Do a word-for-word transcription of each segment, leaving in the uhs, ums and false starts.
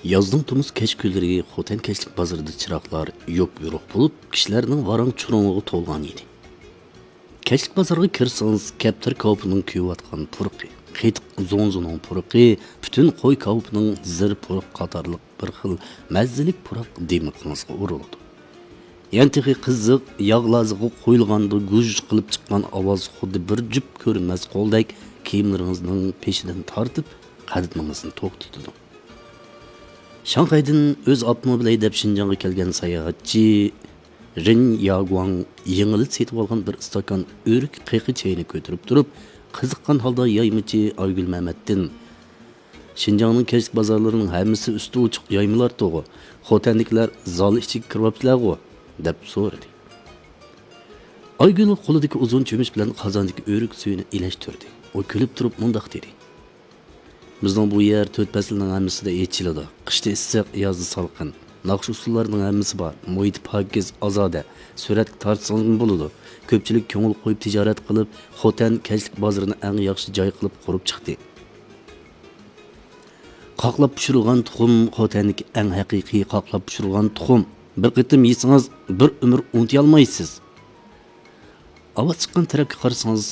يازنىڭ تومۇز كەچ كۈنلىرى خوتەن كەچلىك بازىرىدا چىراغلار يوپيورۇق بولۇپ، كىشىلەرنىڭ ۋاراڭ-چۇرۇڭىغا تولغان ئىدى. كەچلىك بازارغا كىرسىڭىز، كەپتەر كاۋىپىنىڭ كۆيۈۋاتقان پۇرىقى، قېتىق زوڭزىنىڭ پۇرىقى، پۈتۈن قوي كاۋىپىنىڭ زىر پۇرىقى قاتارلىق بىر خىل مەززىلىك پۇراق دىمىقىڭىزغا ئۇرۇلىدۇ. يەنە تېخى قىزىق ياغلازىغا قويۇلغاندا گۇژ قىلىپ چىققان ئاۋاز خۇددى بىر جۈپ كۆرۈنمەس قولدەك كىيىملىرىڭىزنىڭ پېشىدىن تارتىپ، قەدىمىڭىزنى توختىتىدۇ. شاڭخەيدىن ئۆز ئاپتوموبىلى ھەيدەپ شىنجاڭغا كەلگەن ساياھەتچى رېن ياگۇاڭ يېڭىلا سېتىۋالغان بىر ئىستاكان ئۆرۈك قېقى چاينى كۆتۈرۈپ تۇرۇپ، قىزىققان ھالدا يايمىچى ئايگۈل مەمەتتىن، «شىنجاڭنىڭ كەچلىك بازارلىرىنىڭ ھەممىسى ئۈستى ئوچۇق يايمىلاردىغۇ؟ خوتەندىكىلەر زال ئىچىگە كىرىۋاپسىلەرغۇ؟» دەپ سورىدى. ئايگۈل قولىدىكى ئۇزۇن چۆمۈچ بىلەن قازاندىكى ئۆرۈك سۈيىنى ئىلەشتۈردى. ئۇ كۈلۈپ تۇرۇپ مۇنداق دېدى: «بىزنىڭ بۇ يەر تۆت پەسىلنىڭ ھەممىسىدە ئېچىلىدۇ. قىشتا ئىسسىق، يازدا سالقىن. ناخشا-ئۇسسۇللارنىڭ ھەممىسى بار. مۇھىتى پاكىز، ئازادە. سۈرەتكە تارتسىڭىزمۇ بولىدۇ. كۆپچىلىك كۆڭۈل قويۇپ تىجارەت قىلىپ، خوتەن كەچلىك بازىرىنى ئەڭ ياخشى جاي قىلىپ قۇرۇپ چىقتى.» قاقلاپ پىشۇرۇلغان تۇخۇم خوتەندىكى ئەڭ ھەقىقىي قاقلاپ پىشۇرۇلغان تۇخۇم. بىر قېتىم يېسىڭىز، بىر ئۆمۈر ئۇنتۇيالمايسىز. ئاۋاز چىققان تەرەپكە قارىسىڭىز،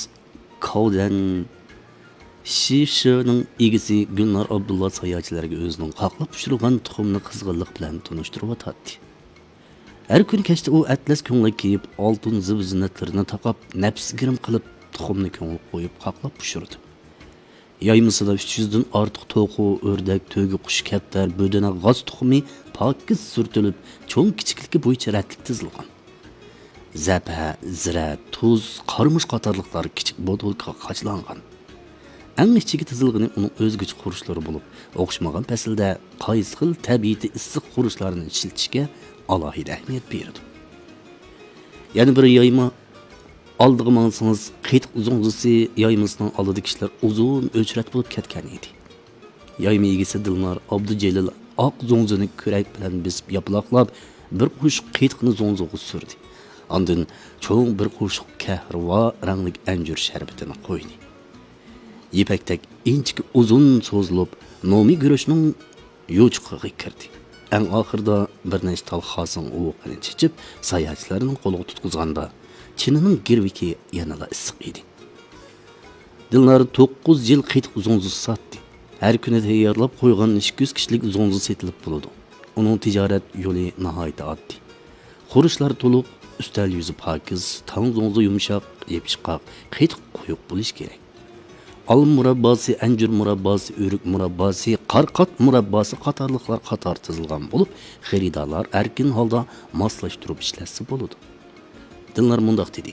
كاۋدەن شىشىنىڭ ئىگىسى گۈلنار ئابدۇللا ساياھەتچىلەرگە ئۆزىنىڭ قاقلاپ پىشۇرغان تۇخۇمىنى قىزغىنلىق بىلەن تونۇشتۇرۇۋاتاتتى. ھەر كۈنى كەچتە ئۇ ئەتلەس كۆڭلەك كىيىپ، ئالتۇن زىبۇ-زىننەتلىرىنى تاقاپ، نەپىس گىرىم قىلىپ، تۇخۇمنى كۆڭۈل قويۇپ قاقلاپ پىشۇرىدۇ. يايمىسىدا ئۈچ يۈزدىن ئارتۇق توخۇ، ئۆردەك، تۆگە قۇشى، كەپتەر، بۆدۈنە، غاز تۇخۇمى پاكىز سۈرتۈلۈپ، چوڭ-كىچىكلىكى بويىچە رەتلىك تىزىلغان. زەپە، زىرە، تۇز، قارىمۇچ قاتارلىقلار كىچىك بوتۇلكىغا قاچىلانغان. ئەڭ ئىچىگە تىزىلغىنى ئۇنىڭ ئۆزگىچە خۇرۇچلىرى بولۇپ، ئوخشىمىغان پەسىلدە قايسى خىل تەبىئىتى ئىسسىق خۇرۇچلارنى ئىشلىتىشكە ئالاھىدە ئەھمىيەت بېرىدۇ. يەنە بىر يايما ئالدىغا ماڭسىڭىز، قېتىق زوڭزىسى يايمىسىنىڭ ئالدىدا كىشىلەر ئۇزۇن ئۆچرەت بولۇپ كەتكەن ئىدى. يايما ئىگىسى دىلنار ئابدۇجېلىل ئاق زوڭزىنى كۈرەك بىلەن بېسىپ ياپىلاقلاپ، بىر قوشۇق قېتىقنى زوڭزىغا سۈردى. ئاندىن چوڭ بىر قوشۇق كەھرىۋا رەڭلىك ئەنجۈر شەربىتىنى قۇيدى. يىپەكتەك ئىنچىكە ئۇزۇن سوزۇلۇپ، نومى گۈرۈچنىڭ يوچۇقىغا كىردى. ئەڭ ئاخىرىدا بىر نەچچە تال خاسىڭ ئۇۋىقىنى چېچىپ، ساياھەتچىلەرنىڭ قولىغا تۇتقۇزغاندا، چىنىنىڭ گىرۋىكى يەنىلا ئىسسىق ئىدى. دىلنار توققۇز يىل قېتىق زوڭزىسى ساتتى. ھەر كۈنى تەييارلاپ قويغان ئىككى يۈز كىشىلىك زوڭزا سېتىلىپ بولىدۇ. ئۇنىڭ تىجارەت يولى ناھايىتى ئاددىي. خۇرۇچلار تولۇق، ئۈستەل يۈزى پاكىز، تاڭ زوڭزا يۇمشاق، يېپىشقاق، قېتىق قويۇق بولۇشى كېرەك. ئالما مۇرابباسى، ئەنجۈر مۇرابباسى، ئۆرۈك مۇرابباسى، قارقات مۇرابباسى قاتارلىقلار قاتار تىزىلغان بولۇپ، خېرىدارلار ئەركىن ھالدا ماسلاشتۇرۇپ ئىشلەتسە بولىدۇ. دىلنار مۇنداق دېدى: